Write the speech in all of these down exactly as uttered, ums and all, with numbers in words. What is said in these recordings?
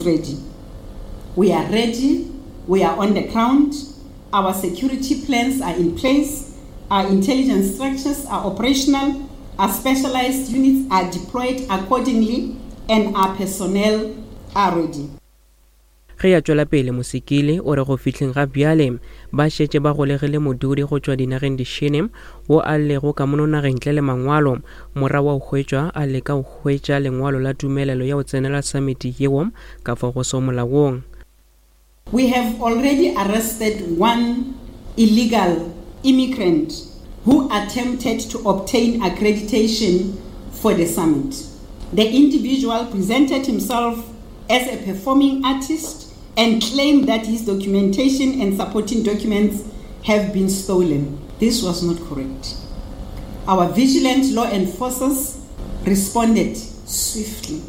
Ready. We are ready. We are on the ground. Our security plans are in place. Our intelligence structures are operational. Our specialized units are deployed accordingly, and our personnel are ready. Ge a tšwela pele Mosekile o re go fihleng ga bjale ba šetše ba golegile modudi go tšwa dinageng dišele wo a lego ka mono nageng ntle le mangwalo morago wa go hwetšwa a leka go hwetša lengwalo la tumelelo ya go tsenela samiti yeo ka fao go sego molaong. We have already arrested one illegal immigrant who attempted to obtain accreditation for the summit. The individual presented himself as a performing artist and claimed that his documentation and supporting documents have been stolen. This was not correct. Our vigilant law enforcers responded swiftly.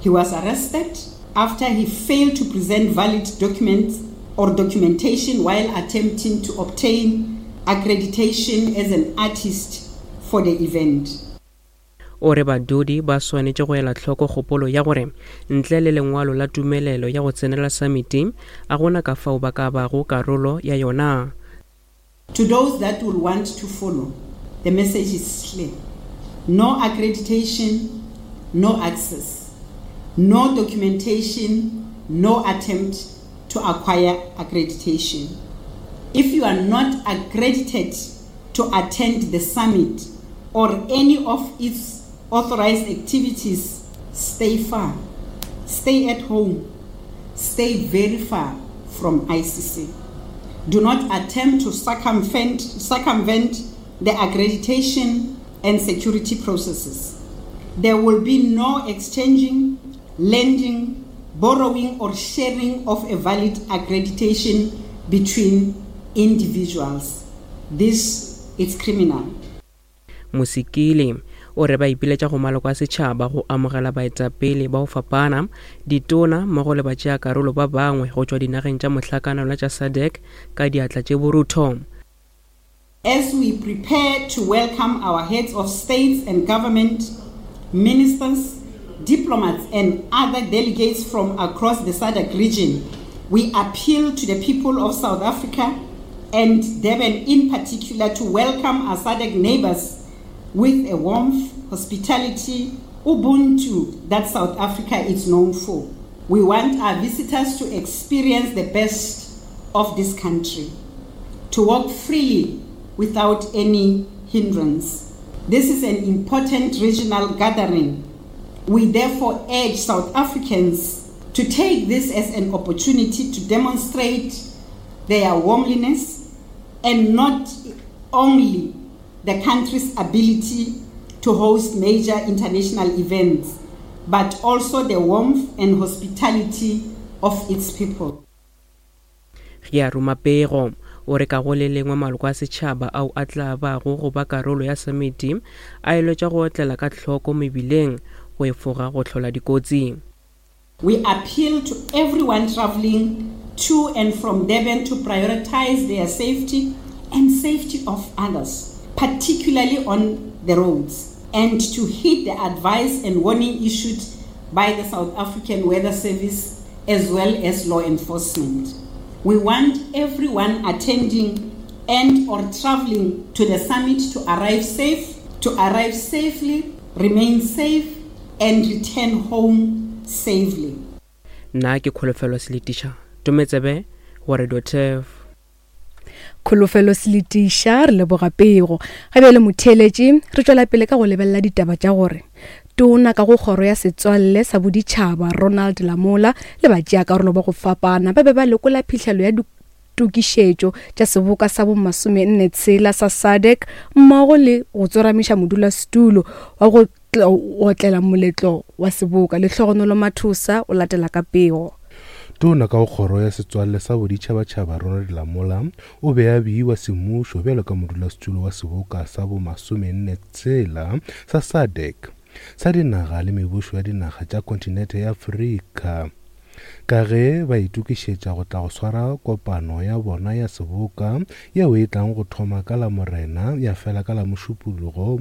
He was arrested after he failed to present valid documents or documentation while attempting to obtain accreditation as an artist for the event. O re badudi ba swanetše go ela hloko kgopolo ya gore ntle le lengwalo la tumelelo ya go tsenela samiti a gona ka fao ba ka bago karolo ya yona. To those that will want to follow, the message is clear. No accreditation, no access. No documentation, no attempt to acquire accreditation. If you are not accredited to attend the summit or any of its authorized activities, stay far, stay at home, stay very far from I C C. Do not attempt to circumvent, circumvent the accreditation and security processes. There will be no exchanging, lending, borrowing or sharing of a valid accreditation between individuals. This is criminal. Mosekile o re ba ipiletša go maloko a setšhaba go amogela baetapele ba go fapana, ditona mmogo le batšeakarolo ba bangwe go tšwa dinageng tša mohlakanelwa tša SADC ka diatla tše borutho. As we prepare to welcome our heads of states and government, ministers, diplomats and other delegates from across the SADC region, we appeal to the people of South Africa and Durban in particular to welcome our SADC neighbors with a warmth, hospitality, Ubuntu that South Africa is known for. We want our visitors to experience the best of this country, to walk freely without any hindrance. This is an important regional gathering. We therefore urge South Africans to take this as an opportunity to demonstrate their warmliness and not only the country's ability to host major international events, but also the warmth and hospitality of its people. Ge a ruma pego, o re ka go le lengwe maloko a setšhaba ao a tla bago go ba karolo ya samiti a eletšwa go otlela ka hloko mebileng go efoga go hlola dikotsi. We appeal to everyone traveling to and from Durban to prioritize their safety and safety of others, particularly on the roads, and to heed the advice and warning issued by the South African Weather Service as well as law enforcement. We want everyone attending and or traveling to the summit to arrive safe, to arrive safely, remain safe, and return home safely. Nna ke Kholofelo Seletiša, Tometsebe go Radio Turf. Kholofelo Seletiša, re leboga pego. Ga bjale motheeletši, re tšwela pele ka go lebelela ditaba tša gore tona ka go kgoro ya setswalle sa boditšhaba Ronald Lamola le batšeakarolo ba go fapana ba be ba lekola phihlelo ya ditokišetšo tša seboka sa bomasomenne tshela sa SADC mmogo le go tsoramiša modulasetulo wa go otlela moletlo wa seboka. Lehlogonolo Mathosa o latela ka pego. Tona ka go kgoro ya setswalle sa boditšhabatšhaba Ronald Lamola o be a beiwa semmušo bjalo ka modulasetulo wa seboka sa bomasomenne tshela sa SADC sa dinaga le mebušo ya dinaga tša kontinente ya Afrika ka ge ba itokišetša go tla go swara kopano ya bona ya seboka yeo e tlang go thoma ka Lamorena ya fela ka la Mošupologo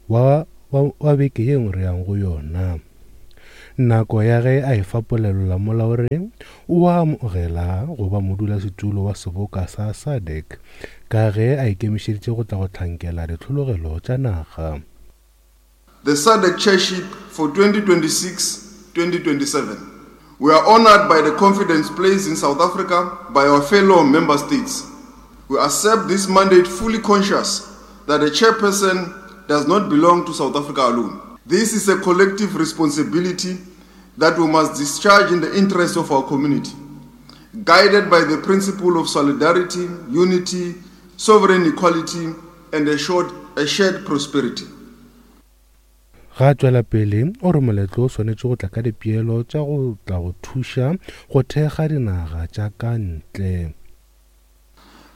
wa, wa, wa beke ye nngwe re yang go yona. Nako ya ge a efa polelo Lamola o re o a amogela go ba modulasetulo wa seboka sa SADC ka ge a ikemišeditše go tla go hlankela ditlhologelo tša naga. The SADC chairship for twenty twenty-six twenty twenty-seven. We are honored by the confidence placed in South Africa by our fellow member states. We accept this mandate fully conscious that the chairperson does not belong to South Africa alone. This is a collective responsibility that we must discharge in the interest of our community, guided by the principle of solidarity, unity, sovereign equality, and a, short, a shared prosperity. Ga tšwela pele o re moletlo o swanetše go tla ka dipeelo tša go tla go thuša go thekga dinaga tša ka ntle.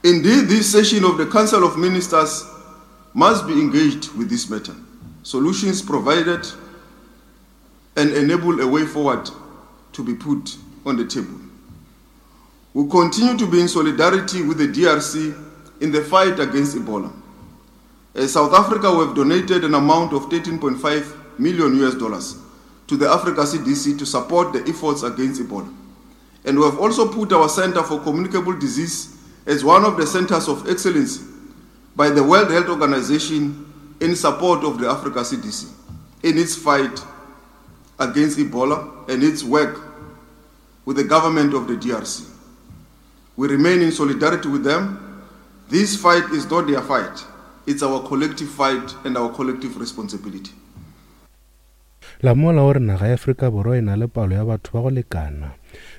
Indeed, this session of the Council of Ministers must be engaged with this matter. Solutions provided and enable a way forward to be put on the table. We continue to be in solidarity with the D R C in the fight against Ebola. As South Africa, we have donated an amount of thirteen point five million U S dollars to the Africa C D C to support the efforts against Ebola. And we have also put our Center for Communicable Disease as one of the centers of excellence by the World Health Organization in support of the Africa C D C in its fight against Ebola and its work with the government of the D R C. We remain in solidarity with them. This fight is not their fight. It's our collective fight and our collective responsibility. Lamola o re naga ya Afrika Borwa e na le palo ya batho ba go lekana,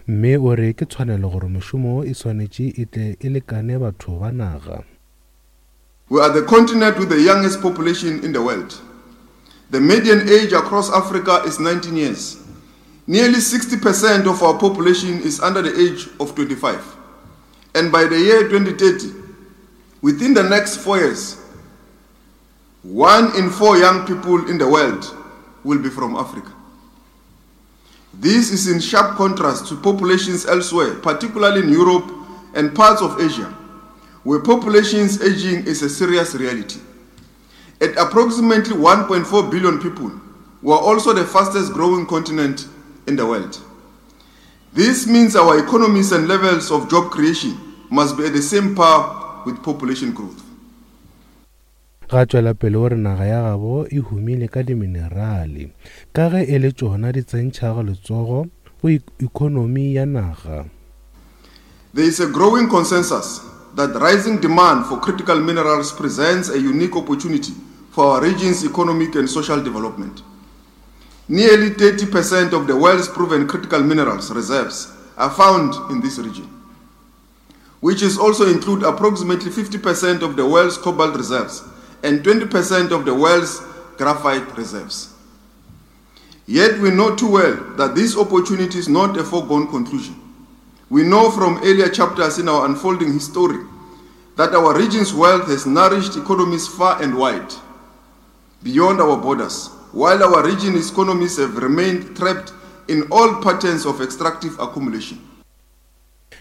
mme o re ke tshwanelo gore mošomo e swanetše e tle e lekane batho ba naga. We are the continent with the youngest population in the world. The median age across Africa is nineteen years. Nearly sixty percent of our population is under the age of twenty-five. And by the year twenty thirty, within the next four years, one in four young people in the world will be from Africa. This is in sharp contrast to populations elsewhere, particularly in Europe and parts of Asia, where populations aging is a serious reality. At approximately one point four billion people, we are also the fastest growing continent in the world. This means our economies and levels of job creation must be at the same par with population growth. Ga tšwela pele o re naga ya gabo e humile ka diminerale ka ge e le tšona di tsentšhago letsogo go ekonomi ya naga. There is a growing consensus that rising demand for critical minerals presents a unique opportunity for our region's economic and social development. Nearly thirty percent of the world's proven critical minerals reserves are found in this region, which is also include approximately fifty percent of the world's cobalt reserves and twenty percent of the world's graphite reserves. Yet we know too well that this opportunity is not a foregone conclusion. We know from earlier chapters in our unfolding history that our region's wealth has nourished economies far and wide, beyond our borders, while our region's economies have remained trapped in all patterns of extractive accumulation.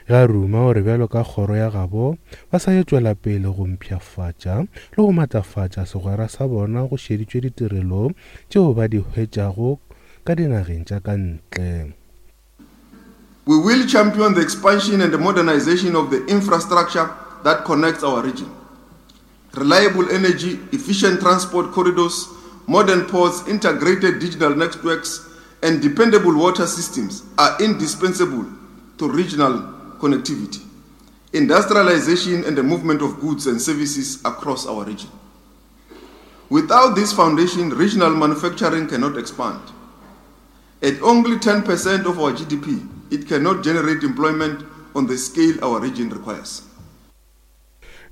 Ga ruma o re bjalo ka kgoro ya gabo ba sa tšwela pele go mpshafatša le go matlafatša segwera sa bona go šeditšwe ditirelo tšeo ba di hwetšago ka dinageng tša ka ntle. We will champion the expansion and the modernization of the infrastructure that connects our region. Reliable energy, efficient transport corridors, modern ports, integrated digital networks, and dependable water systems are indispensable to regional connectivity, industrialization, and the movement of goods and services across our region. Without this foundation, regional manufacturing cannot expand. At only ten percent of our G D P, it cannot generate employment on the scale our region requires.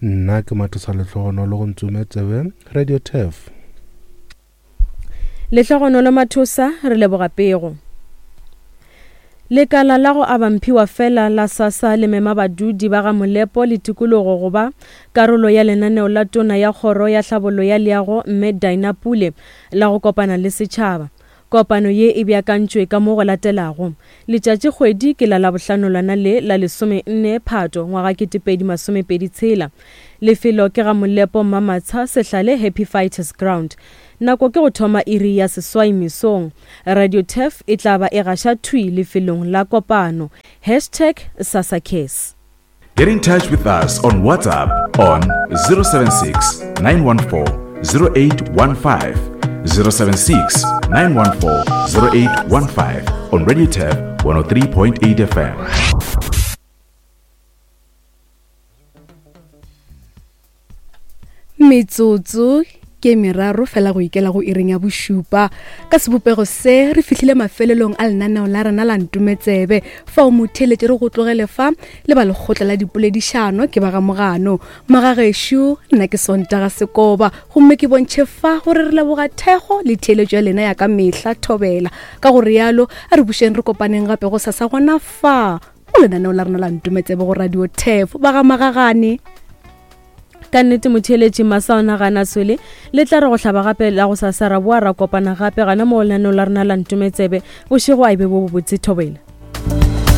Nna ke Mathosa Lehlogonolo go Ntsume Tsebe, Radio Turf. Lehlogonolo Mathosa, re leboga pego. Lekala la go aba mphiwa fela la SASSA le mema badudi ba ga Molepo le tikologo go ba karolo ya lenaneo la tona ya kgoro ya tlhabollo ya leago mme Dinah Pule la go kopana le setšhaba. Kopano ye e beakantšwe ka mo go latelago. Letšatši kgwedi ke la Labohlano lona le la lesomenne Phato ngwaga ketepedi masomepedi tshela. Lefelo ke ga Molepo Mamatsha Sehlale Happy Fighters Ground. Nako ke go thoma iri ya seswai mesong. Radio Turf e tla ba e gaša thwi lefelong la kopano. Hashtag SASACares. Get in touch with us on WhatsApp on zero seven six, nine one four, zero eight one five, zero seven six, nine one four, zero eight one five on Radio Turf one oh three point eight F M. Metsotso ke meraro fela go ikela go iring ya bošupa. Ka sebopego se re fihlile mafelelong a lenaneo la rena la Ntometsebe. Fao motheeletši re go tlogele fa le ba lekgotla la dipoledišano ke ba ga Mogano. Magagešo, nna ke Sontaga Sekoba, gomme ke bontšhe fa gore re leboga thekgo le theeletšo ya lena ya ka mehla thobela. Ka go rialo, a re bušeng re kopaneng gape go sasa gona fa go lenaneo la rena la Ntometsebe go Radio Turf. Ba ga Magagane. Ka nnete motheeletši masa o nagana swele le tla re go hlaba gape la go sasa ra boa ra kopana gape gana mo lenaneo la rena la Ntometsebe. Bošego a e be bo bobotse thobela.